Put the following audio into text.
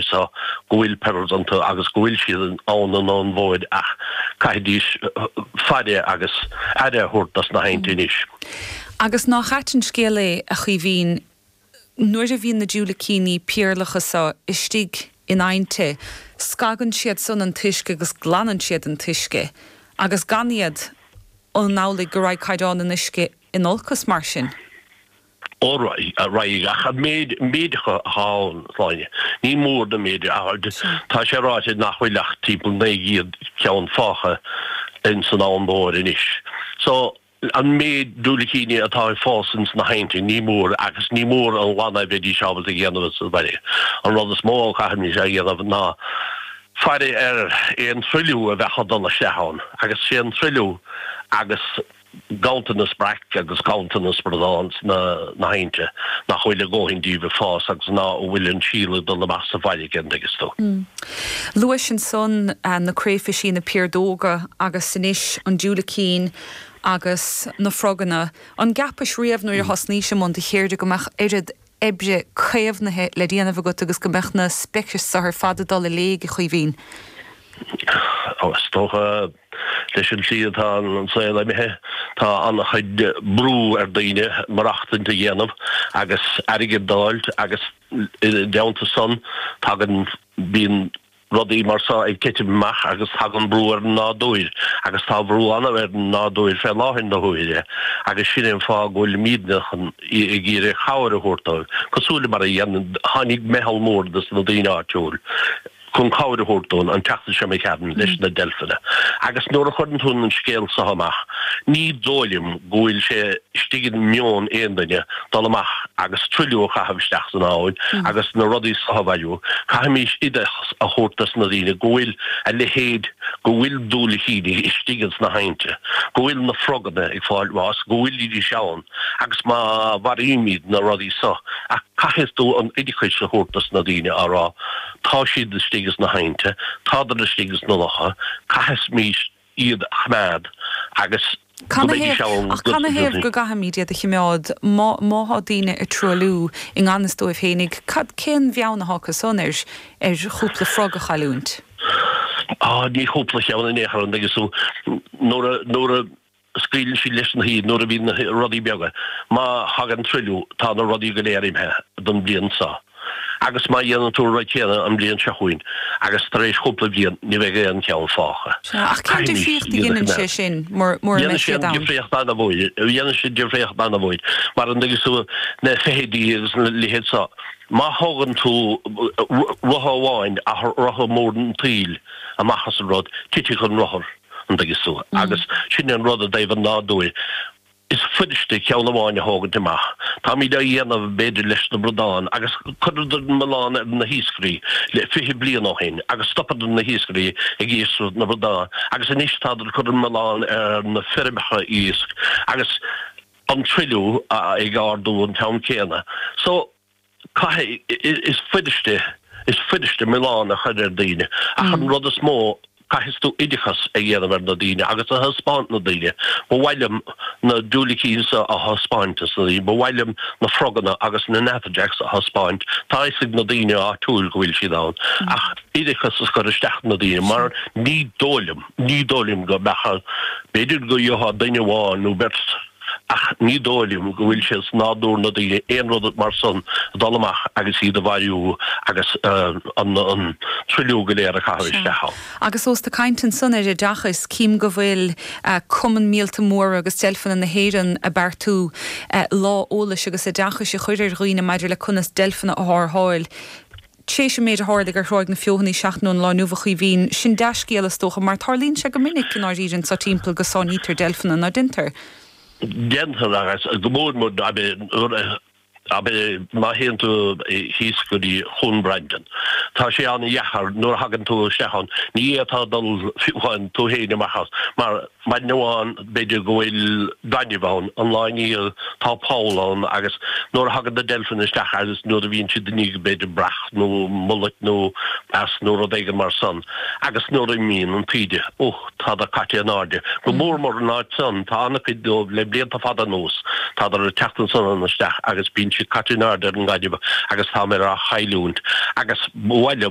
So go bhfuil pearls iontu agus go bhfuil siad ann an Abhainn Mhóir ach caithfidís faire agus aire a thabhairt dos na haibhnte anois. Agus nach ait an scéal é, a Chaoimhín, nuair a bhíonn na diúilicíní péarlacha so istigh in aibhnte, scagann siad san an t-uisce agus glanann siad an t-uisce, agus gan iad, an amhlaidh go raghaidh caighdeán an uisce in olcas mar sin? Ó raghaidh, ach an méid méid acu atá ann, Sláine, ní mór na méid, tá sé ráite nach bhfuil ach timpeall 900 ceann fágtha ins an Abhainn Mhór anois. So, an méid diúilicíní atá ag fás ins na haibhnte, ní mór, agus ní mór an glanadh a bheidís ábalta a dhéanamh sa bhaile. An rud is mó a chaithfimid a dhéanamh ná faire ar aon truailliú a bheadh ag dul isteach ann, agus sé an truailliú agus ganntanas breac agus ganntanas bradán sna haibhnte, nach bhfuil a dhóthain díobh ag fás agus ná bhfuil an síol ag dul amach sa bhfarraige, an dtuigeas tú. Luais ansan na créifisí, na piardóga agus anois an diúilicín agus na froganna. An gceapais riamh nuair a thosnaís i mbun do cheirde go mbeadh oiread oibre caomhnaithe le déanamh agat agus go mbeadh na speicis so ar fad ag dul i léig, a Chaoimhín? Ó, is dócha, leis an tslí atá an saol imithe, tá an-chuid brú ar daoine maireachtaint a dhéanamh agus airgead d'fháilt agus i dteannta san tagann, bíonn rudaí mar so ag titim amach agus tagann brú ar an nádúir agus tá brú an ar an nádúir fé láthair na huaire agus sin é an fáth go bhfuilimídne chun ag iarraidh cabhair a thabhairt dóibh, cosúil le mar a dhéanann, tháinig meitheal mór de na daoine áitiúil chun cabhair a thabhairt dúinn an tseachtain seo imigh tharainn leis na deilfeanna agus nuair a chuireann tú an scéal so amach ní dóigh liom go bhfuil sé istigh i meon aon duine dul amach agus truailliú a chaitheamh isteach san abhainn agus na rudaí so a bhailiú. Caithfimís oideachas a thabhairt dos na daoine go bhfuil a leithéid, go bhfuil diúilicíní istigh ins na haibhnte, go bhfuil na froganna ag fáil bháis, go bhfuilidís ann agus má mharaímid na rudaí so, ach caithfidh tú an oideachais a thabhairt dos na daoine á rá tá siad istigh ins na haibhnte, tádar istigh ins na locha, caithfimís iad a choimeád agus go mbeidís ann Ach canathaobh go gcaithfimid iad a choimeád má má thá daoine ag truailliú i ngan fhios dóibh fhéinig? Cad, cén bheann athá acu san ar ar chúpla frog a chailliúint? Á, ní chúpla cheann in aon chor, an dtuigeann tú, nuair a, nuair a scaoileann siad leis na hiad, nuair a bhíonn na rudaí beaga, má thagann truailliú, tá na rudaí go léir imithe don bhliain seo. Agus má dhéanann tú an rud céanna an bhliain seo chugainn, agus tar éis chúpla bliain, ní bheidh aon cheann fágtha. Sea, ach cén difríocht a dheineann sé sin mura mbeidh siad ann? Dhéanann sé difríocht an-mhór, dhéanann sé difríocht an-mhór, mar an dtuigeann tú, na feithidí agus na leithéid seo, má thógann tú rotha amháin, ach rotha mór an tsaoil amach as an rud, titfidh an rothar, an dtuigeann tú, agus sin an rud i dtaobh an nádúir. Is fuiriste ceann amháin a thógaint amach. Táimid á dhéanamh, b'fhéidir, leis na bradáin, agus chuireadar milleán ar na hiascairí le 20 bliain ó shin agus stopadar na hiascairí ag iascaireacht na bradán agus anois tádar ag cur an milleán ar na feirmeacha iasc agus an truailliú ag ardú an t-am céanna. So. Caithfidh, is fuiriste, is fuiriste milleán a chur ar daoine, ach an rud is mó, caithfidh tú oideachas a dhéanamh ar na daoine agus a thaispeáint na daoine. Ba mhaith liom na diúilicíní seo a thaispeáint dos na daoine, ba mhaith liom na froganna agus na natterjacks a thaispeáint, tá a fhios ag na daoine áitiúil go bhfuil siad ann, ach oideachas a chur isteach na daoine mar ní dóigh liom, ní dóigh liom go mbeadh, b'fhéidir go gheofá duine amháin nó beirt, Ach ní dóigh liom go bhfuil sé sa nádúr na daoine aon rud mar san a dul amach agus iad a mharú agus an truailliú go léir a chaitheamh isteach ann. Agus ós tú ag caint ansan ar oideachas, cím go bhfuil Cumann Míolta Móra agus Deilfeanna na hÉireann ag beartú lá eolais agus oideachais a chur ar dhaoine maidir le conas deilfeanna a tharrtháil. Tréis an méid a tharlaigh ar Thráigh na Feothanaí seachtain ón lá inniu, a Chaoimhín, sin dea-scéal is dócha, mar tarlaíonn sé go minic i ndáiríre anso timpeall go sáinnítear deilfeanna, ná déantar? Déantar, agus go mór mór abair má théann tú thíos go dtí Chuan Brandon. Tá sé an-dheacair nuair a thagann tú isteach ann, ní fhéadfá dul fiú amháin tú féin amach as, mar Maidin amháin b'fhéidir go bhfuil gaineamh ann, an lá i ndiaidh tá poll ann agus nuair a thagann na deilfeanna isteach agus nuair a bhíonn siad i ndiaidh b'fhéidir breac nó mullet nó as nó rud éigin mar san agus nuair a imíonn an taoide, ó, tádar caite in airde. Go mór mór an áit san, tá an-chuid dóibh le blianta fada anuas, tádar ag teacht ansan isteach agus bíonn siad caite in airde ar an ngaineamh agus tá mé á chailliúint agus ba mhaith liom.